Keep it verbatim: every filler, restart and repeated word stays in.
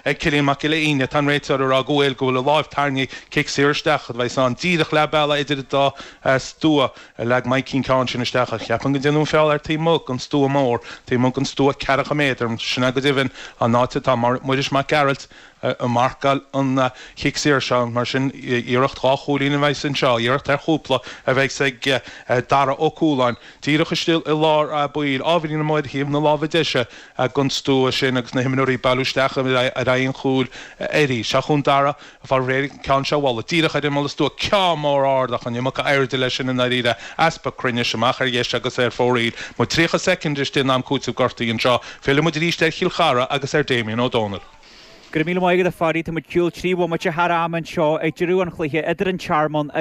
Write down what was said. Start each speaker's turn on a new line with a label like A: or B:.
A: ag Cillian Mac Giolla Íne tá an réiteoir ag rá go bhfuil go bhfuil a lámh tarraingthe cic saor isteach a bheidh ann díreach leath bealaigh idir an dá stua a leag Mikey an ceann sin isteach ach ceapaim go ndéanadh an feall ar taobh amuigh den stua mór taobh amuigh den stua ceathracha méadar sin é go deimhin an áit atá Muiris Mac Gearailt ag marcáil an chic saor seo mar sin iarracht dhá chúilín a bheidh anseo iarracht ar chúpla a bheidh ag Dara Ó Cualáin díreach istigh i lár baill ábhairín amuigh ar thaobh na láimhe deise den stua sin agus na himreoirí ag bailiú isteach ar aghaidh an chúil arís. Seo chugainn Dara fá réir an ceann seo a bhualadh díreach ar imeall an stua ceann mór ard ach an iomarca airde leis sin i ndáiríre easpa cruinnis amach ar dheis agus ar fóraoil. Muid tríocha soicind istigh in am cúitimh gortaithe anseo. Fillfidh muid arís ar Chill Chartha agus ar Damien Ó Dónaill.
B: Go raibh míle maith agat a Phadaí tá muid cúl trí bhomaite thar am anseo ag deireadh an chluiche idir an Tearmann